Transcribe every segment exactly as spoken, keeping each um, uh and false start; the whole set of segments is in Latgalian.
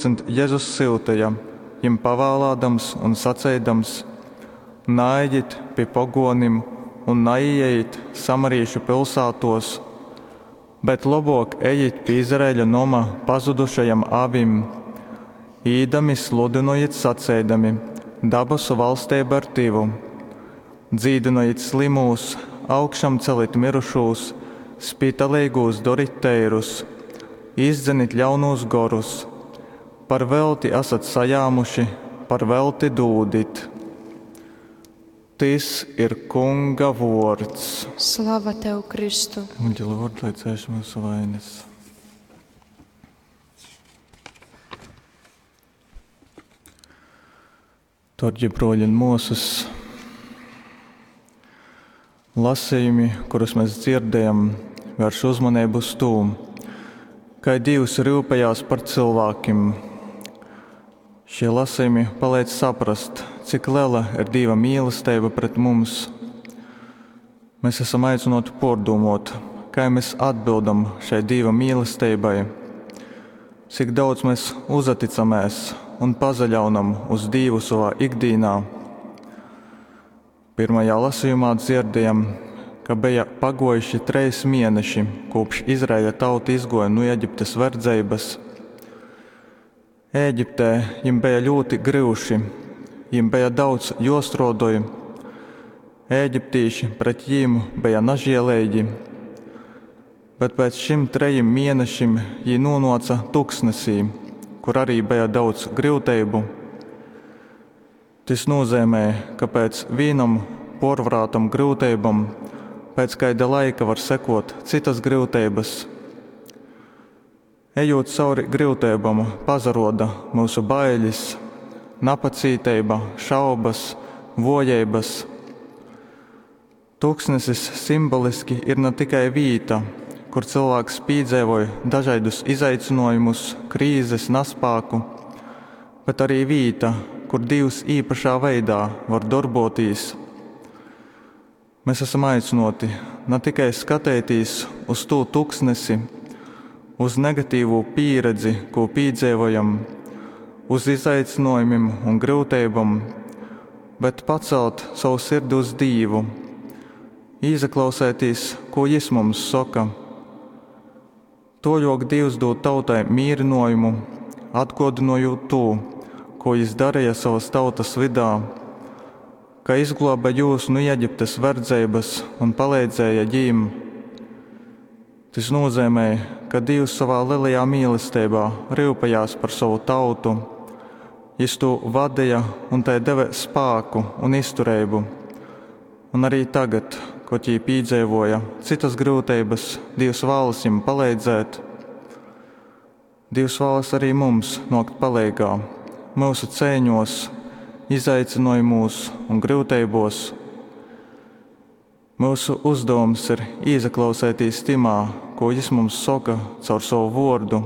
divpadsmit Jezus syuteja, jim pavālādams un saceidams, Naejit pi pogōnim un naīejit samarīšu pilsātōs, bet lobōk ejit pi Izraeļa noma pazudušajom avim. Īdami sludynojit saceidami, Dabasu vaļsteiba ir tyvu. Dzīdynojit slymūs, augšamcelit myrušūs, spitaleigūs dorit teirus, izdzenit ļaunūs gorus. Par veļti asat sajāmuši, par veļti dūdit. Tys ir Kunga vōrds. Slava Tev, Kristu! Evangelija vārds, lai cēš myusu vainas. Dārgie broļi un māsas, lasījumi, kurus mēs dzirdējam, vērš uzmanību uz to, kai Dievs rūpējās par cilvēkiem. Šie lasījumi palīdz saprast, cik liela ir Dieva mīlestība pret mums. Mēs esam aicināti pārdomāt, kā mēs atbildam šai Dieva mīlestībai, cik daudz mēs uzticamies un pazaļaunam uz Dievu savā ikdienā. Pirmajā lasījumā dzirdējam, ka bija pagojuši treis mēneši, kopš Izraēļa tauta izgoja no Eģiptes verdzības. Ēģiptē jim bija ļoti gryuši, jim bija daudz jostrodoj. Ēģiptīši pret jim bija nažielīgi, bet pēc šim trejim mēnešim jī nonāca tuksnesī, kur arī bija daudz gryuteibu. Tys nozīmē, ka pēc vienam porvarātam gryuteibam pēc kaida laika var sekot citas gryuteibas. Ejot cauri gryuteibom, pazaroda mūsu bailes, napacīteiba, šaubas, vojeibas. Tuksnesis simboliski ir ne tikai vīta, kur cilvēks piedzīvoja dažādus izaicinājumus, krīzes, naspāku, bet arī vīta, kur Dievs īpašā veidā var darbotīs. Mēs esam aicināti ne tikai skatīties uz to tuksnesi, uz negatīvo pieredzi, ko piedzīvojam, uz izaicinājumiem un grūtībām, bet pacelt savu sirdi uz Dievu, ieklausēties, ko Jis mums saka. Toļok Dievs dod tautai mierinājumu, atgodinojot to, ko Jis darīja savas tautas vidā, ka izglāba jūs no Eģiptes verdzības un palīdzēja ģīm. Tas nozīmē, ka Dievs savā lielajā mīlestībā rūpējās par savu tautu. Jis to vadīja un tai deva spēku un izturību. Un arī tagad, kad jī piedzīvoja citas grūtības, Dievs vēlas jim palīdzēt. Dievs vēlas arī mums nokt palīgā, mūsu cēņos, izaicinājumos un grūtībos. Mūsu uzdevums ir ieklausēties timā, ko Jis mums saka caur savu vārdu,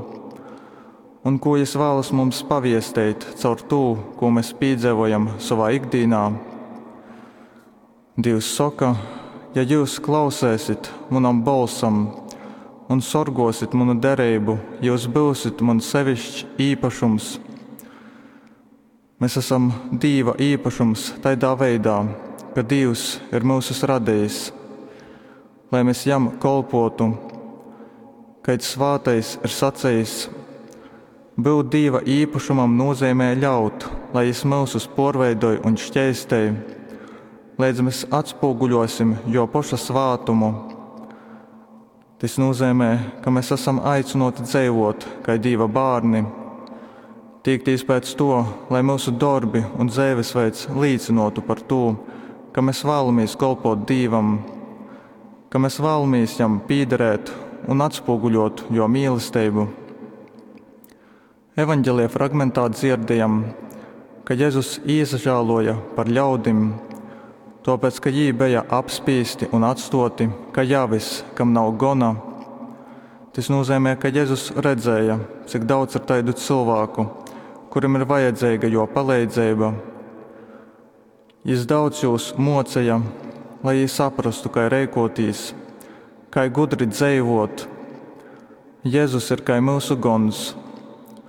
un ko Jis vēlas mums paviestīt caur to, ko mēs piedzīvojam savā ikdienā. Dievs saka, ja jūs klausēsit manam balsam un sorgosit manu derību, jūs būsit man sevišķs īpašums. Mēs esam Dieva īpašums tādā veidā, ka Dievs ir mūsus radījis, lai mēs jam kolpotu. Kad svātais ir sacījis, būt Dieva īpašumam nozīmē ļaut, lai Jis mūsus porveidoj un šķeistej, līdz mēs atspoguļosim jo paša svātumu. Tas nozīmē, ka mēs esam aicināti dzīvot kā Dieva bērni, tiekties pēc to, lai mūsu darbi un dzīvesveids līdzinotu par to, ka mēs vēlamies kalpot Dievam, ka mēs vēlamies jam pīderēt un atspoguļot jo mīlestību. Evanģelija fragmentā dzirdējam, ka Jēzus iesažāloja par ļaudim, tāpēc, ka jī bija apspīsti un atstoti, ka javis, kam nav gona. Tas nozīmē, ka Jēzus redzēja, cik daudz ir taidu cilvēku, kurim ir vajadzīga jo palīdzība. Jis daudz jūs mocīja, lai jī saprastu, kā rēkotīs, kā gudri dzīvot. Jēzus ir kā mūsu gons.